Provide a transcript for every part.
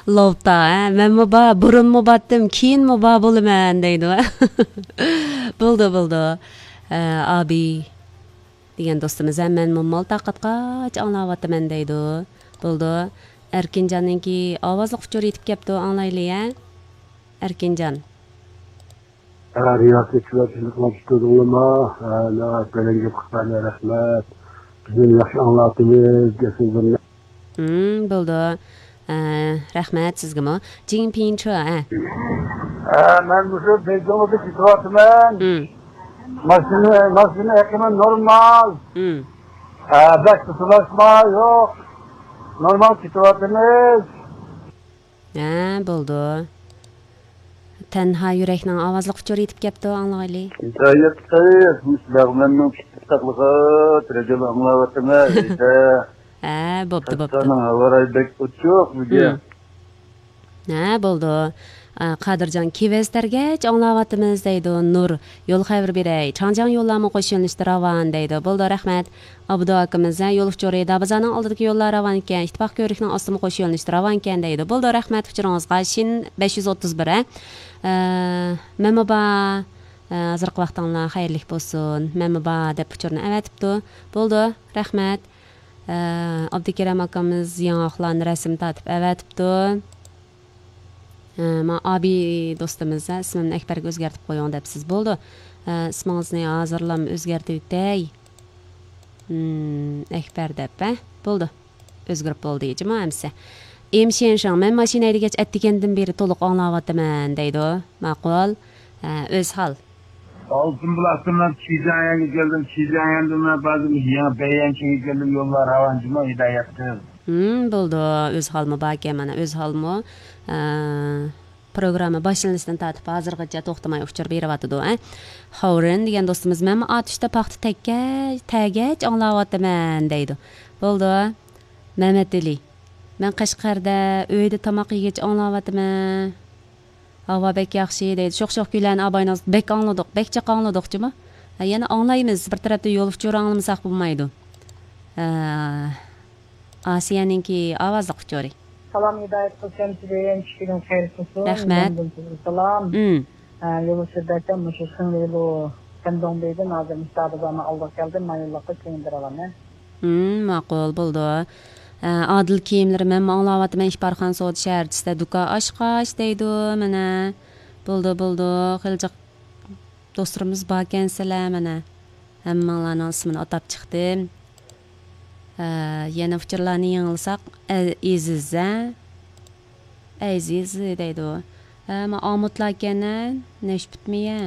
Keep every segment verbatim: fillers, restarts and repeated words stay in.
لوپتا، ھە؟ مەنمۇ بار، بۇرۇنمۇ بارتتىم، كېيىنمۇ بار بولىمەن دەيدۇ. بولدى، بولدى. ئە، ئابى دېگەن دوستىمىز، ھە، مەنمۇ مال تارقاتقاچ ئاڭلاۋاتىمەن دەيدۇ. بولدى. ئەركىنجاننىڭكى ئاۋازلىق ئۇچۇر يېتىپ كەپتۇ، ئاڭلايلى، ھە؟ ئەركىنجان. ھە، رىياسەتچىلەر، سىزنى قىلىپ تۇردۇڭلىما؟ ھە، ناھايىتى بەلەن گەپ قىلغان، رەھمەت. بىزنى ياخشى ئاڭلاتىمىز، گەپسۆزلىرىنى. ھىم، بولدى. ئە، رەھمەت سىزگىمۇ. جىڭپىنچۇ، ھە. ھە، مەن مۇشۇ بېيجىڭدا كېتىۋاتىمەن. ھىم. ماشىنا، ماشىنا ئېقىمى نورمال. ھىم. ھە، بەك قىسىلاشما يوق. نورمال كېتىۋاتىمىز. ھە، بولدى. تەنھا يۈرەكنىڭ ئاۋازلىق ئۇچۇر يېتىپ كەپتۇ، ئاڭلىغايلى. ھىدايەت قىز، مۇشۇ لەغمەننىڭ كىچىك قىسقاقلىقى، تېلېۋىزور ئاڭلاۋاتىمەن، ھەيدە. ھە، بوپتۇ، بوپتۇ. قەشقەرنىڭ ھاۋا رايى بەك ئوچۇق بۈگۈن. ھىم. ھە، بولدى. ئا، قادىرجان، كېۋەز تەرگەچ ئاڭلاۋاتىمىز دەيدۇ. نۇر، يول خەۋىرى بېرەي. چاڭجياڭ يوللارمۇ قوش يۆنىلىشتە راۋان دەيدۇ. بولدى، رەھمەت. ئابدۇ ئاكىمىز، ھە، يول ئۇچۇرى دابازارنىڭ ئالدىدىكى يوللار راۋان ئىكەن، ئىتتىپاق كۆۋرۈكنىڭ ئاستىمۇ قوش يۆنىلىشتە راۋان ئىكەن دەيدۇ. بولدى، رەھمەت ئۇچۇرىڭىزغا. شىن بەش يۈز ئوتتۇز بىر، ھە. ئە، مەنمۇ بار. ئە، ھازىرقى ۋاقتىڭلار خەيرلىك بولسۇن. مەنمۇ بار دەپ ئۇچۇرنى ئەۋەتىپتۇ. بولدى، رەھمەت. ئە، ئابدۇكېرەم ئاكىمىز ياڭاقلارنى رەسىم تارتىپ ئەۋەتىپتۇ. ئە، ما ئابى دوستىمىز، ھە، ئىسمىمنى ئەكبەرگە ئۆزگەرتىپ قويۇڭ دەپسىز. بولدى. ئە، ئىسمىڭىزنى ھازىرلام ئۆزگەرتىۋېتەي. ھىم، ئەكبەر دەپ، ھە؟ بولدى. ئۆزگىرىپ بولدى، جۇمۇ ئەمسە. ئېم شيەنشاڭ، مەن ماشىنا ھەيدىگەچ ئەتىگەندىن بېرى تولۇق ئاڭلاۋاتىمەن دەيدۇ. ماقۇل. ھە، ئۆز ھال. ئالتۇن بۇلاقتىن چىجياڭيەنگە كەلدىم، چىجياڭيەندىن بازىر يېڭى بەييەنچىڭگە كەلدىم، يوللار راۋان جۇمۇ ھىدايەت قىل. ھىم، بولدى. ئۆز ھالمۇ باركەن، مانا، ئۆز ھالمۇ. ئە، پروگرامما باشلىنىشتىن تارتىپ ھازىرغىچە توختىماي ئۇچۇر بېرىۋاتىدۇ، ئە. خاۋرىن دېگەن دوستىمىز، مەنمۇ ئاتۇشتا پاختا تەگكە-، تەگەچ ئاڭلاۋاتىمەن دەيدۇ. بولدى. مەمەتئېلى، مەن قەشقەردە ئۆيدە تاماق يېگەچ ئاڭلاۋاتىمەن. ھاۋا بەك ياخشى دەيدۇ. شوخ-شوخ كۈيلەرنى ئاباينىڭ بەك ئاڭلىدۇق، بەك جىق ئاڭلىدۇق جۇمۇ. ھە، يەنە ئاڭلايمىز، بىر تەرەپتىن يول ئۇچۇرى ئاڭلىمىساق بولمايدۇ. ھە، ئاسىيەنىڭكى ئاۋازلىق ئۇچۇرى. سالام ھىدايەت قىلسام سىزدىن، چۈشكىنىڭ خەير قىلسۇن. رەھمەت. مەندىن سىزگە سالام. ئىم. ھە، يول ئۇچۇر بەرسەم مۇشۇ خېڭلىلۇ سەندوڭبېيدىن ھازىر مۇشۇ دابازارنىڭ ئالدىغا كەلدىم، مايونلۇققا كېيىن بېرىۋالىمەن. ھىم، ماقۇل، بولدى. ئە، ئادىل كىيىملىرى، مەنمۇ ئاڭلاۋاتىمەن، ئىپارخان سودا شەھەرچىسىدە دۇكان ئاچقاچ دەيدۇ، مانا. بولدى، بولدى، خېلى جىق دوستلىرىمىز باركەنسىلەر، مانا. ھەممىڭلارنىڭ ئىسمىنى ئاتاپ چىقتىم. ئە، يەنە ئۇچۇرلارنى يېڭىلىساق، ئە، ئېزىز، ھە؟ ئەزىز دەيدۇ. ھە، ما ئامۇتلاركەن، ھە؟ نەشپۈتمۇ يە؟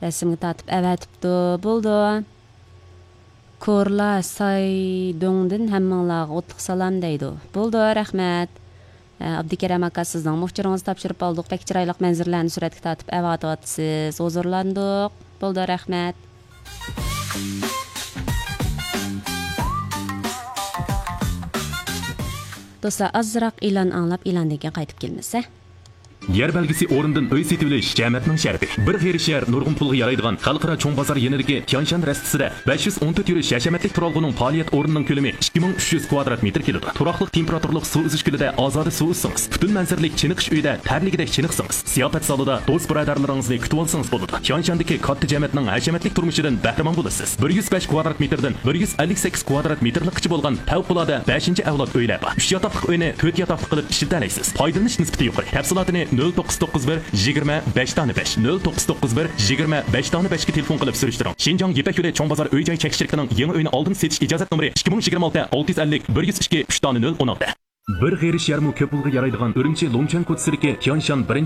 رەسىمگە تارتىپ ئەۋەتىپتۇ. بولدى. كورلا سايدۇڭدىن ھەممىڭلارغا ئوتلۇق سالام دەيدۇ. بولدى، رەھمەت. ئە، ئابدۇكېرەم ئاكا، سىزنىڭمۇ ئۇچۇرىڭىزنى تاپشۇرۇپ ئالدۇق. بەك چىرايلىق مەنزىرىلەرنى سۈرەتكە تارتىپ ئەۋاتىۋاتىسىز. ھۇزۇرلاندۇق. بولدى، رەھمەت. دوستلار، ئازراق ئېلان ئاڭلاپ، ئېلاندىن كېيىن قايتىپ كېلىمىز، ھە؟ يەر بەلگىسى ئورنىدىن ئۆي سېتىۋېلىش جەمەتنىڭ شەرىپى. بىر غېرىب شەھەر نۇرغۇن پۇلغا يارايدىغان خەلقئارا چوڭ بازار يېنىدىكى تيانشان رەستىسىدە بەش يۈز ئون تۆت يۈرۈش ھەشەمەتلىك تۇرالغۇنىڭ پائالىيەت ئورنىنىڭ كۆلىمى ئىككى مىڭ ئۈچ يۈز كۋادرات مېتىر كېلىدۇ. تۇراقلىق تېمپېراتۇرىلىق سۇ ئۈزۈش كۆلىدە ئازادە سۇ ئۈزسىڭىز، پۈتۈن مەنزىرىلىك چېنىقىش ئۆيىدە تەرلىگۈدەك چېنىقسىڭىز، زىياپەت زالىدا دوست بۇرادەرلىرىڭىزنى كۈتۈۋالسىڭىز بولىدۇ. تيانشاندىكى كاتتا جەمەتنىڭ ھەشەمەتلىك تۇرمۇشىدىن بەھرىمەن بولىسىز. بىر يۈز بەش كۋادرات مېتىردىن بىر يۈز ئەللىك سەككىز كۋادرات مېتىرلىققىچە بولغان پەۋقۇلئاددە بەشىنچى ئەۋلاد ئۆيلەر بار. ئۈچ ياتاقلىق ئۆينى تۆت ياتاقلىق قىلىپ ئىشلىتەلەيسىز. پايدىلىنىش نىسبىتى يۇقىرى. تەپسىلاتىنى نۆل توققۇز توققۇز بىر يىگىرمە بەش دانە بەش، نۆل توققۇز توققۇز بىر يىگىرمە بەش دانە بەشكە تېلېفون قىلىپ سۈرۈشتۈرۈڭ. شىنجاڭ يىپەك يولى چوڭ بازار ئۆي جاي چەكلىك شىركىتىنىڭ يېڭى ئۆينى ئالدىن سېتىش ئىجازەت نومۇرى ئىككى مىڭ يىگىرمە ئالتە ئالتە يۈز ئەللىك بىر يۈز ئىككى ئۈچ دانە نۆل ئون ئالتە. بىر غېرىب شەھەرمۇ كۆپ پۇلغا يارايدىغان ئۈرۈمچى لۇڭچۈەن كوچىسىدىكى تيانشان بىرىنچى